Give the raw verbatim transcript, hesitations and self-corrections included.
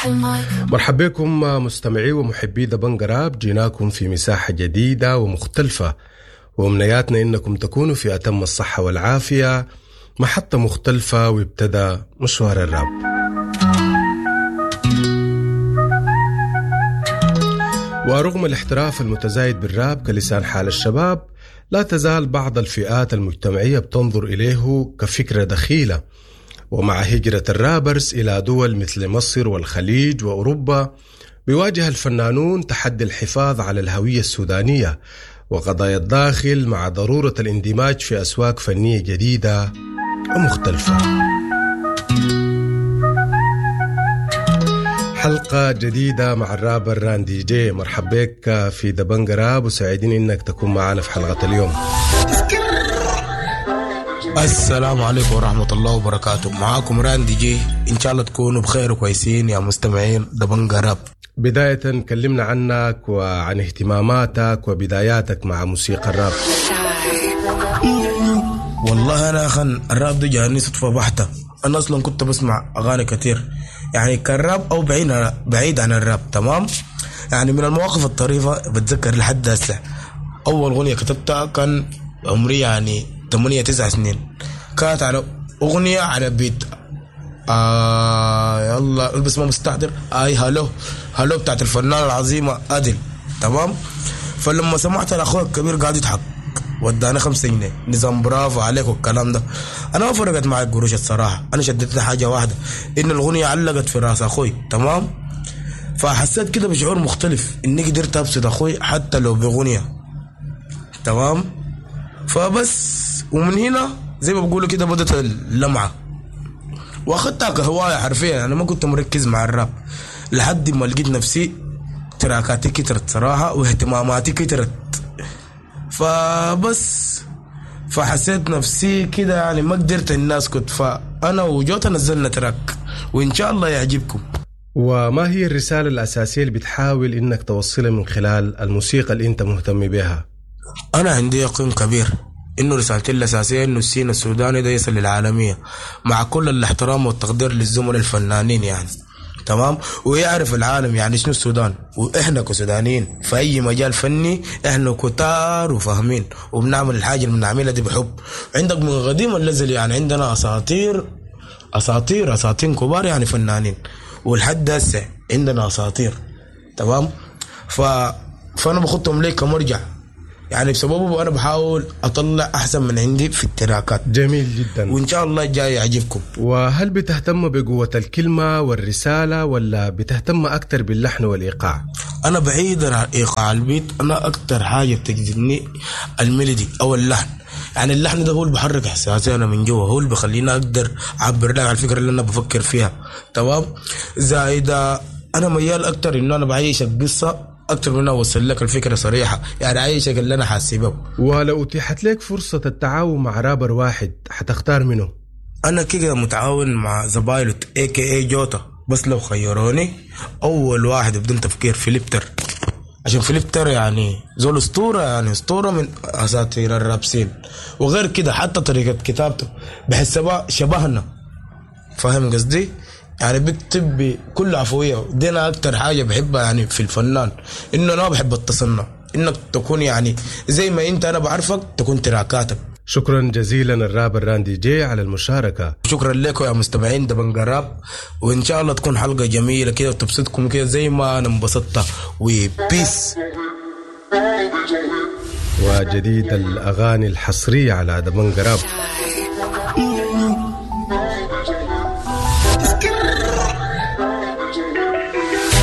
مرحبا بكم مستمعي ومحبي دبنجا راب، جيناكم في مساحة جديدة ومختلفة، وأمنياتنا إنكم تكونوا في أتم الصحة والعافية. محطة مختلفة وابتدى مشوار الراب. ورغم الاحتراف المتزايد بالراب كلسان حال الشباب، لا تزال بعض الفئات المجتمعية بتنظر إليه كفكرة دخيلة. ومع هجرة الرابرز إلى دول مثل مصر والخليج وأوروبا، بيواجه الفنانون تحدي الحفاظ على الهوية السودانية وقضايا الداخل مع ضرورة الاندماج في أسواق فنية جديدة ومختلفة. حلقة جديدة مع الرابر راندي جي. مرحبا بك في دبنجا راب، وسعيدين إنك تكون معنا في حلقة اليوم. السلام عليكم ورحمة الله وبركاته، معاكم راندي جي. إن شاء الله تكونوا بخير وكويسين يا مستمعين دبنجا راب. بداية كلمنا عنك وعن اهتماماتك وبداياتك مع موسيقى الراب. والله أنا أخن الراب ده جاني صدفة بحتة. أنا أصلا كنت بسمع أغاني كتير، يعني كان راب أو بعيد بعيد عن الراب، تمام؟ يعني من المواقف الطريفة بتذكر لحد هسه، أول أغنية كتبتها كان عمري يعني ثمانية تسع سنين، كانت على أغنية على beat آه يلا بس ما مستحضر آي hello hello بتاعت الفنانة العظيمة أدل، تمام؟ فلما سمعت الأخوة الكبير قاعد يضحك ودانا خمسة جنيه، نظام برافو عليك والكلام ده. أنا ما فرقت معي القروش الصراحة، أنا شدت حاجة واحدة، إن الغنية علقت في راس أخوي، تمام؟ فحسيت كده بشعور مختلف إني قدرت أبسط أخوي حتى لو بغنية، تمام؟ فبس ومن هنا زي ما بقولوا كده بدت اللمعة، واخدتها كهواية حرفيا. أنا ما كنت مركز مع الراب لحد ما لقيت نفسي تراكاتي كترت صراحة واهتماماتي كترت، فبس فحسيت نفسي كده يعني ما قدرت الناس كنت. فأنا وجوتا نزلنا track وإن شاء الله يعجبكم. وما هي الرسالة الأساسية اللي بتحاول إنك توصلها من خلال الموسيقى اللي أنت مهتم بها؟ أنا عندي يقين كبير إنه رسالتي الأساسية إنه ال scene السوداني ده يصل للعالمية، مع كل الاحترام والتقدير للزملاء الفنانين يعني، تمام؟ ويعرف العالم يعني شنو السودان، وإحنا كسودانيين في أي مجال فني إحنا كتار وفاهمين وبنعمل الحاجة اللي بنعملها دي بحب. عندك من قديم الأزل يعني عندنا أساطير أساطير أساطير كبار يعني فنانين، ولحد هسه عندنا أساطير، تمام؟ ف... فأنا بخطهم ليه كمرجع يعني، بسببه أنا بحاول أطلع أحسن من عندي في التراكات. جميل جدا، وإن شاء الله جاي يعجبكم. وهل بتهتم بقوة الكلمة والرسالة ولا بتهتم أكتر باللحن والإيقاع؟ أنا بعيدا عن إيقاع ال beat، أنا أكتر حاجة بتجذبني ال melody أو اللحن. يعني اللحن ده هو اللي بحرك إحساسي أنا من جوا، هو اللي بخليني أقدر أعبر لك على الفكرة اللي أنا بفكر فيها، تمام؟ زائد أنا ميال أكتر إنه أنا بعيش القصة أكتر من أوصل لك الفكرة صريحة، يعني عايشك اللي أنا حاسبه. ولو أتيحت لك فرصة التعاون مع رابر واحد حتختار منه؟ أنا كده متعاون مع زبايلوت إيه كي إيه جوتا، بس لو خيروني أول واحد بدون تفكير فيليبتر، عشان فيليبتر يعني زول أسطورة، يعني أسطورة من أساطير ال rap scene. وغير كده حتى طريقة كتابته بحسها شبهنا، فاهم قصدي؟ يعني بكتب بكل عفوية. دي أنا أكتر حاجة بحبها يعني في الفنان، إنه أنا بحب التصنع، إنك تكون يعني زي ما أنت أنا بعرفك تكون تراكاتك. شكرا جزيلا الرابر راندي جي على المشاركة. شكرا لكم يا مستمعين دبنجا راب، وإن شاء الله تكون حلقة جميلة كده وتبسطكم كده زي ما أنا انبسطت. و peace. وجديد الأغاني الحصرية على دبنجا راب.